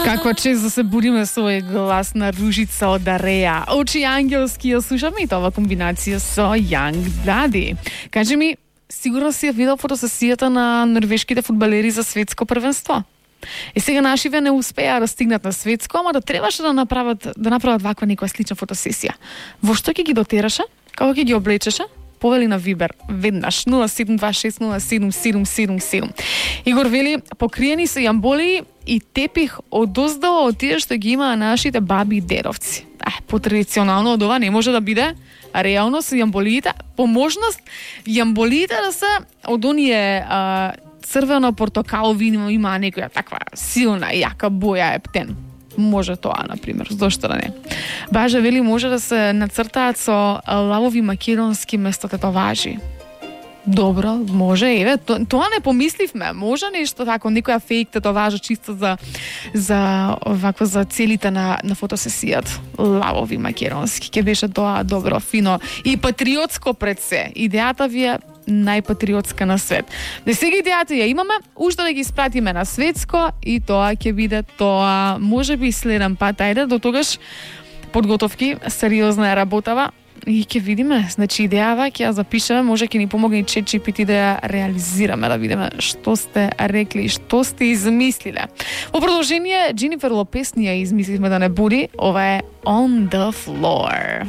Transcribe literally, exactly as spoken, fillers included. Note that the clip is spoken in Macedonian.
Каква чест да се будиме со овој глас на Ружица од Ареја. Очи ангелски ја слушаме и тоа комбинација со Young Daddy. Кажи ми, сигурно си ја видел фотосесијата на норвешките фудбалери за светско првенство? И сега нашиве не успеа да стигнат на светско, ама да требаше да направат да направат ваква некоја слична фотосесија. Во што ќе ги дотераше? Како ќе ги облечеше? Повели на Вибер веднаш нула седум два шест нула седум седум седум седум. Игор вели, покриени се јамболи и тепих одоздава од тие што ги имаа нашите баби и дедовци. Е, потрадиционално од ова не може да биде, а реално се јамболиите, по можност јамболиите да се од оние а, црвено-портокалови, има некоја таква силна, јака боја ептен. Може тоа, например, зошто да не. Бажа вели, може да се нацртаат со лавови македонски место тетоважи. Добро, може, еве, то, тоа не помисливме. Може нешто тако, некоја фейк тетоважа чисто за за вакво за целите на на фотосесијата. Лавови македонски, ќе беше тоа добро, фино и патриотско пред се. Идејата ви е најпатриотска на свет. Да сега идејата ја имаме, уште да ги испратиме на светско и тоа ќе биде тоа, може би следен пат, ајде, до тогаш подготовки, сериозна е работава и ќе видиме, значи идејава ќе ја запишеме, може ќе ни помогне и Чет Джи Пи Ти да ја реализираме, да видиме што сте рекли, што сте измислиле. Во продолжение, Дженифер Лопес ни ја измисливме да не буди, ова е On The Floor.